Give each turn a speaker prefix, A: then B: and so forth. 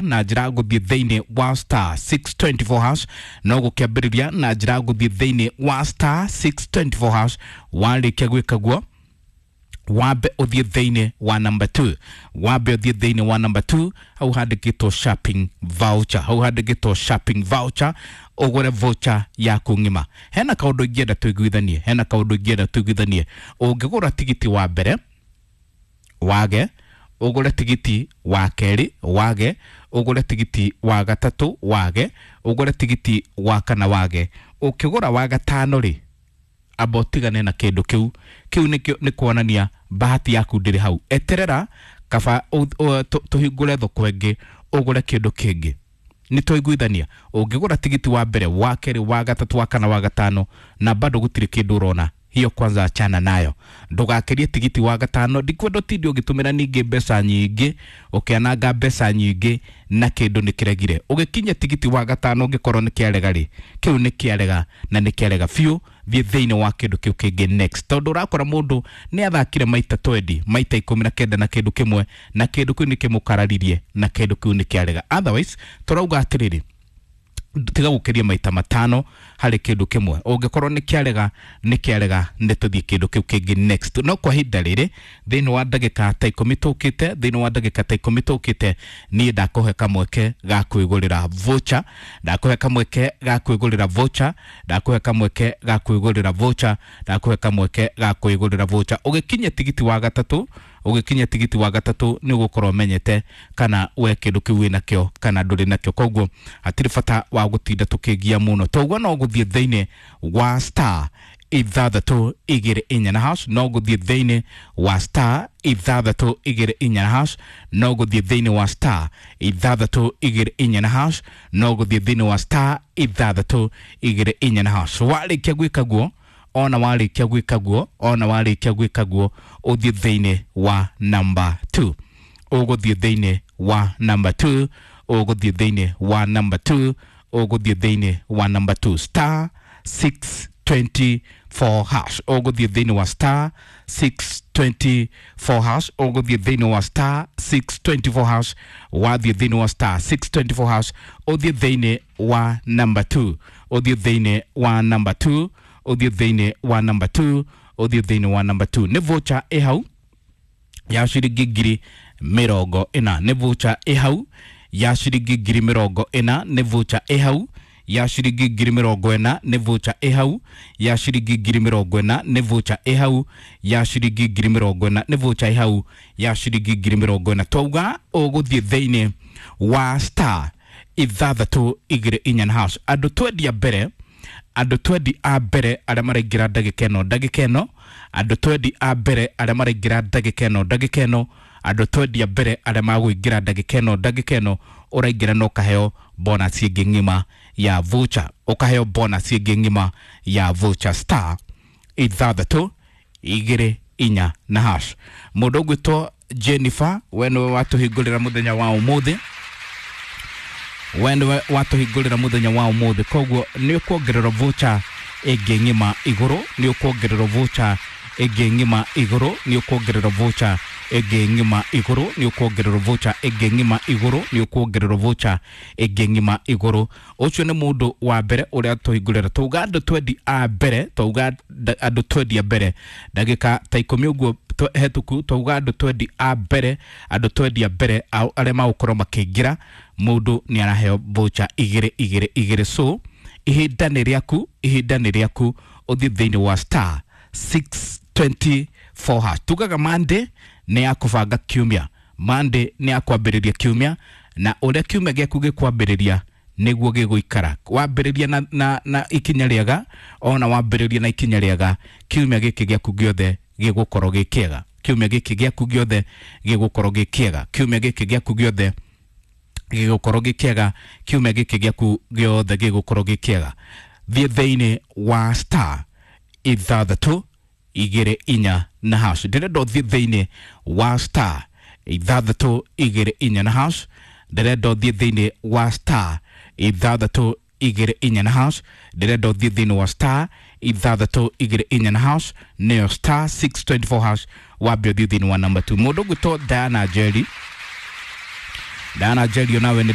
A: Na njĩra gũthiĩ thĩinĩ wa star 624 hash. No gũkĩambĩrĩria na njĩra gũthiĩ thĩinĩ wa star 624 hash. Warĩkia gwĩka guo, wambe ũthiĩ thĩinĩ wa number 2, wambe ũthiĩ thĩinĩ wa number 2, hau handĩkĩtwo shopping voucher, hau handĩkĩtwo shopping voucher, ũgũre voucher yaku ng'ima. Hena kaũndũ ingĩenda tũiguithanie, hena kaũndũ ingĩenda tũiguithanie. Ũngĩgũra tigiti wa mbere wage, ũgũre tigiti wa kerĩ wage, ũgũre tigiti wa gatatũ wage, ũgũre tigiti wa kana wage, ũkĩgũra wa gatano rĩ, amba ũtigane na kĩndũ kĩu. Kĩu nĩkĩo nĩ kuonania bahati yaku ndĩrĩ hau. Eterera kaba tũhingũre thoko ĩngĩ, ũgũre kĩndũ kĩngĩ. Nĩ twaiguithania? Ũngĩgũra tigiti wa mbere, wa kerĩ, wa gatatũ, wa kana, wa gatano, na bado gũtirĩ kĩndũ ũrona, hiyo kwanza achana nayo. Ndũgakĩrie tigiti wa gatano. Ndikwenda ũtinde ũgĩtũmĩra ningĩ mbeca nyingĩ, ũkĩananga mbeca nyingĩ na kĩndũ nĩ kĩregire. Ũgĩkinya tigiti wa gatano, ũngĩkorwo nĩ kĩarega rĩ, kĩu nĩ kĩarega na nĩ kĩarega biũ. Thiĩ thĩinĩ wa kĩndũ kĩu kĩngĩ next, tondũ ũrakora mũndũ nĩ athakire maita 20, maita 19 na kĩndũ kĩmwe, na kĩndũ kĩu nĩ kĩmũkararirie na kĩndũ kĩu nĩ kĩarega. Otherwise tũrauga atĩrĩrĩ, tiga gũkĩria maita 5 harĩ kĩndũ kĩmwe. Ũngĩkorwo nĩ kĩarega, nĩ kĩarega, nĩ tũthiĩ kĩndũ kĩu kĩngĩ next. No kwa ihinda rĩrĩ, thĩinĩ wa ndagĩka ta 10 tũkĩte, thĩinĩ wa ndagĩka ta 10 tũkĩte, niĩ ndakũhe kamweke ga kwĩgũrĩra voucher, ndakũhe kamweke ga kwĩgũrĩra voucher, ndakũhe kamweke ga kwĩgũrĩra voucher, ndakũhe kamweke ga kwĩgũrĩra voucher. Ũgĩkinya tigiti wa gatatũ, ũgĩkinya tigiti wa gatatũ, nĩ ũgũkorwo ũmenyete kana we kĩndũ kĩu wĩnakĩo kana ndũrĩ nakĩo. Koguo hatirĩ bata wa gũtinda tũkĩgia mũno. Toguo no gũthiĩ thĩinĩ wa star 624 na hash, no gũthiĩ thĩinĩ wa star 624 na hash, no gũthiĩ thĩinĩ wa star 624 na hash, no gũthiĩ thĩinĩ wa star 624 na hash. Warĩkia gwĩka guo, ona warĩkia gwĩka guo, ona warĩkia gwĩka guo, ũthiĩ thĩinĩ wa number 2, ũgũthiĩ thĩinĩ wa number 2, ũgũthiĩ thĩinĩ wa number 2, ũgũthiĩ thĩinĩ wa number 2, star 624 hash, ũgũthiĩ thĩinĩ wa star 624 hash, ũgũthiĩ thĩinĩ wa star 624 hash. Wathiĩ thĩinĩ wa star 624 hash, ũthiĩ thĩinĩ wa number 2, ũthiĩ thĩinĩ wa number 2, ũthiĩ thĩinĩ wa number 2, ũthiĩ thĩinĩ wa number 2. Nĩ voucher ĩ hau ya ciringi 40,000. Nĩ voucher ĩ hau ya ciringi 40,000. Nĩ voucher ĩ hau ya ciringi 40,000. Nĩ voucher ĩ hau ya ciringi 40,000. Nĩ voucher ĩ hau ya ciringi 40,000. Nĩ voucher ĩ hau ya ciringi 40,000. Twauga ũgũthiĩ thĩinĩ wa star 624 na hash. Andũ 20 a mbere, andũ 20 a mbere arĩa maraingĩra ndagĩka ĩno, ndagĩka ĩno, andũ 20 a mbere arĩa maraingĩra ndagĩka ĩno, ndagĩka ĩno, andũ 20 a mbere arĩa magũingĩra ndagĩka ĩno, ndagĩka ĩno, ũraingĩra na ũkaheo bonus ĩngĩ ng'ima ya voucher, ũkaheo bonus ĩngĩ ng'ima ya voucher, star 624 na hash. Mũndũ ũgwĩtwo Jennifer, we nĩwe watũhingũrĩra mũthenya wa ũmũthĩ, we nĩwe watũhingũrĩra mũthenya wa ũmũthĩ. Koguo nĩ ũkuongererwo voucher ĩngĩ ng'ima igũrũ, nĩ ũkuongererwo voucher ĩngĩ ng'ima igũrũ, nĩ ũkuongererwo voucher ĩngĩ ng'ima igũrũ, nĩ ũkuongererwo voucher ĩngĩ ng'ima igũrũ, nĩ ũkuongererwo voucher ĩngĩ ng'ima igũrũ. Ũcio nĩ mũndũ wa mbere ũrĩa tũhingũrĩra. Twauga andũ 20 a mbere, twauga andũ 20 a mbere ndagĩka ta 10 ũguo hetũku. Twauga andũ 20 a mbere, andũ 20 a mbere arĩa magũkorwo makĩingĩra, mũndũ nĩ araheo voucher igĩrĩ igĩrĩ igĩrĩ. So ihinda nĩ rĩaku, ihinda nĩ rĩaku, ũthiĩ thĩinĩ wa star 624 hash. Tugaga Monday nĩ ya kũbanga kiumia, Monday nĩ ya kwambĩrĩria kiumia, na ũrĩa kiumia gĩaku gĩkwambĩrĩria nĩguo gĩgũikara. Wambĩrĩria na ikinya rĩega, ona wambĩrĩria na ikinya rĩega, kiumia gĩkĩ gĩaku gĩothe gĩgũkorwo gĩ kĩega. Kiumia gĩkĩ gĩaku gĩothe gĩgũkorwo gĩ kĩega. Kiumia gĩkĩ gĩaku gĩothe gĩgũkorwo gĩ kĩega. Kiumia gĩkĩ gĩaku gĩothe gĩgũkorwo gĩ kĩega. Thiĩ thĩinĩ wa star 624 na hash. Ndĩrenda ũthiĩ thĩinĩ wa star 624 na hash. Ndĩrenda ũthiĩ thĩinĩ wa star 624 na hash. Ndĩrenda ũthiĩ thĩinĩ wa star 624 na hash, nĩyo star 624 hash. Wambe ũthiĩ thĩinĩ wa number 2. Mũndũ ũgwĩtwo Diana Njeri. Diana Njeri nawe nĩ.